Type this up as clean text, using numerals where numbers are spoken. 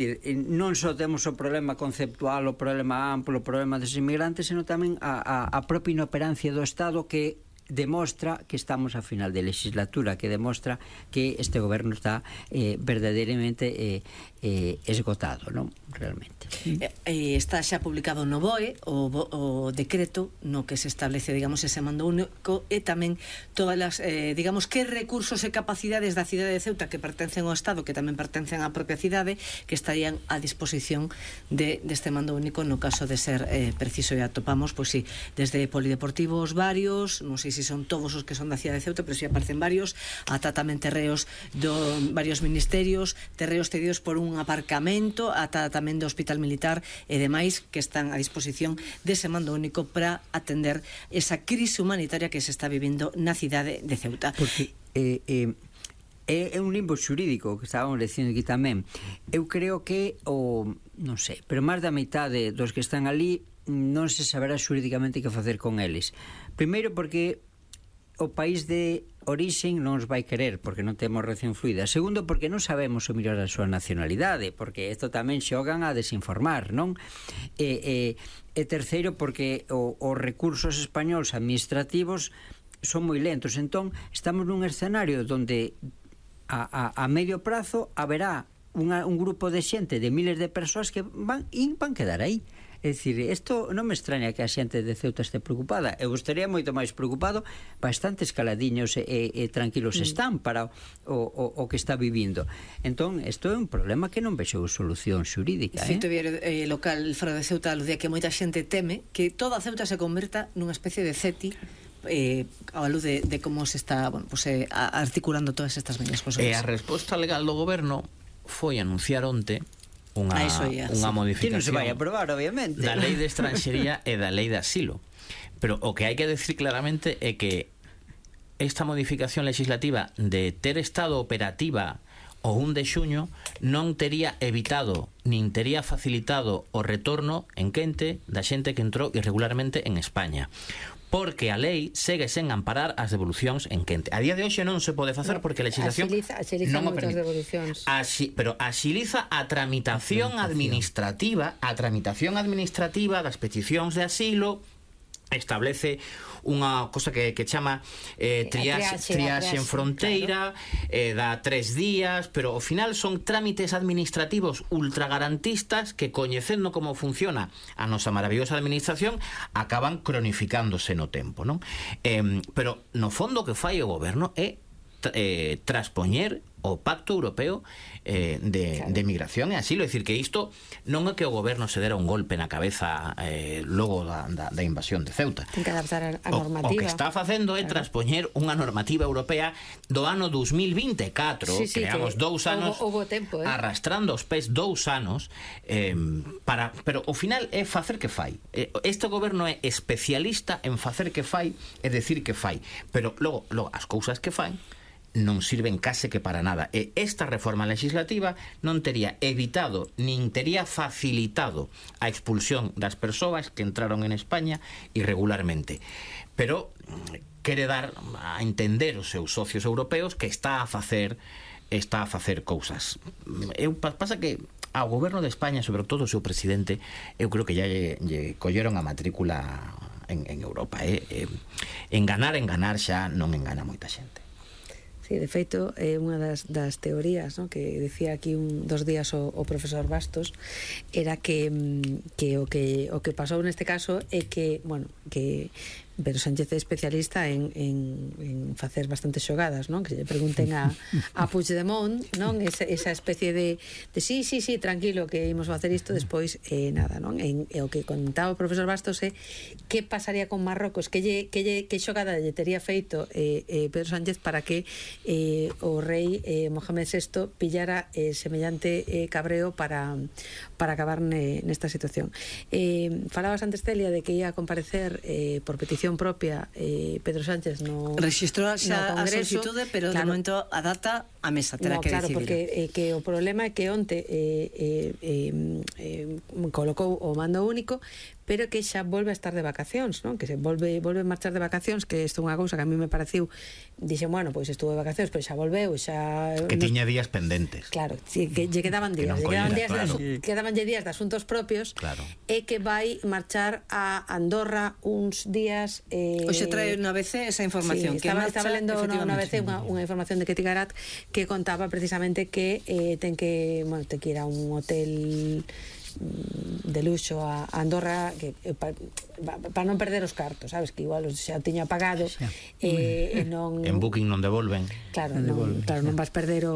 Non só temos o problema conceptual, o problema amplo, o problema dos inmigrantes, senón tamén a propia inoperancia do Estado, que demostra que estamos a final de legislatura, que demostra que este goberno está verdadeiramente esgotado, non? Realmente. Está xa publicado no BOE o decreto no que se establece, digamos, ese mando único, e tamén todas as, digamos, que recursos e capacidades da cidade de Ceuta que pertencen ao Estado, que tamén pertencen á propia cidade, que estarían a disposición deste mando único no caso de ser preciso. E atopamos, pois sí, desde polideportivos varios, non sei se son todos os que son da cidade de Ceuta, pero si aparecen varios, ata tamén terreos do varios ministerios, terreos cedidos por un aparcamento, ata tamén do Hospital Militar e demais, que están a disposición dese mando único para atender esa crise humanitaria que se está vivindo na cidade de Ceuta. Porque é un limbo xurídico que estábamos dicindo aquí tamén. Eu creo que non sei, pero máis da metade dos que están ali non se saberá xurídicamente que facer con eles. Primeiro porque o país de orixen non os vai querer porque non temos relación fluida. Segundo, porque non sabemos o mellor a súa nacionalidade, porque isto tamén xogan a desinformar, non? E terceiro, porque os recursos españols administrativos son moi lentos. Entón, estamos nun escenario onde a medio prazo haberá un grupo de xente, de miles de persoas que van quedar aí. É dicir, isto non me extraña que a xente de Ceuta este preocupada. Eu estaría moito máis preocupado, bastante escaladiños e tranquilos están para o que está vivindo. Entón, isto é un problema que non vexo solución xurídica. Cito local fora de Ceuta aludía que moita xente teme que toda Ceuta se converta nunha especie de CETI a luz de como se está articulando todas estas medidas. E a resposta legal do goberno foi anunciar onte unha modificación que non se vai a aprobar, obviamente, da lei de estranxería e da lei de asilo. Pero o que hai que decir claramente é que esta modificación legislativa de ter estado operativa o 1 de xuño non tería evitado nin tería facilitado o retorno en quente da xente que entrou irregularmente en España, porque a lei segue sen amparar as devolucións en quente. A día de hoxe non se pode facer porque a legislación non o permite. Pero axiliza a tramitación administrativa, das peticións de asilo, establece unha cosa que chama triaxe en fronteira, claro. Dá 3 días, pero ao final son trámites administrativos ultragarantistas que, coñecendo como funciona a nosa maravillosa administración, acaban cronificándose no tempo, non? Pero no fondo o que fai o goberno é traspoñer o Pacto Europeo de Migración e Asilo. É dicir, que isto non é que o goberno se dera un golpe na cabeza logo da invasión de Ceuta. Ten que adaptar a normativa. O que está facendo é traspoñer unha normativa europea do ano 2024, que llevamos 2 anos arrastrando os pés 2 anos, pero ao final é facer que fai. Este goberno é especialista en facer que fai e decir que fai, pero logo as cousas que fai non sirven case que para nada. E esta reforma legislativa non tería evitado nin tería facilitado a expulsión das persoas que entraron en España irregularmente, pero quere dar a entender os seus socios europeos que está a facer cousas. Pasa que ao goberno de España, sobre todo o seu presidente, eu creo que ya lle colleron a matrícula en Europa. Enganar xa non engana moita xente. Sí, de feito, é unha das teorías, ¿no?, que decía aquí 2 días o profesor Bastos, era que o que pasou neste caso é que, bueno, que Pedro Sánchez é especialista en facer bastantes xogadas, non? Que lle pregunten a Puigdemont, non? Esa especie de sí, tranquilo, que imos facer isto, despois nada, non? E o que contaba o profesor Bastos é que pasaría con Marrocos, que xogada lle tería feito Pedro Sánchez para que o rei Mohamed VI pillara semellante cabreo para acabar nesta situación. Falabas antes, Celia, de que ia a comparecer por petición petición propia Pedro Sánchez no rexistrou xa a Congreso, solicitude, pero de momento a data a mesa terá que claro, decidir. porque que o problema é que onte colocou o mando único, pero que xa volve a estar de vacacións, non? Que se volve a marchar de vacacións, que isto é unha cousa que a mí me pareciu, dixen, bueno, pois estuvo de vacacións, pero xa volveu, xa que tiña días pendentes. Claro, sí, que lle quedaban días, quedabanlle días de asuntos propios, claro. E que vai marchar a Andorra uns días. Hoxe trae unha ABC esa información, sí, estaba lendo unha ABC unha información de Ketty Garat que contaba precisamente que ten que ir a un hotel de luxo a Andorra, que para non perder os cartos, sabes, que igual xa tiña pagado, non en Booking non devolven. Claro, non vas perder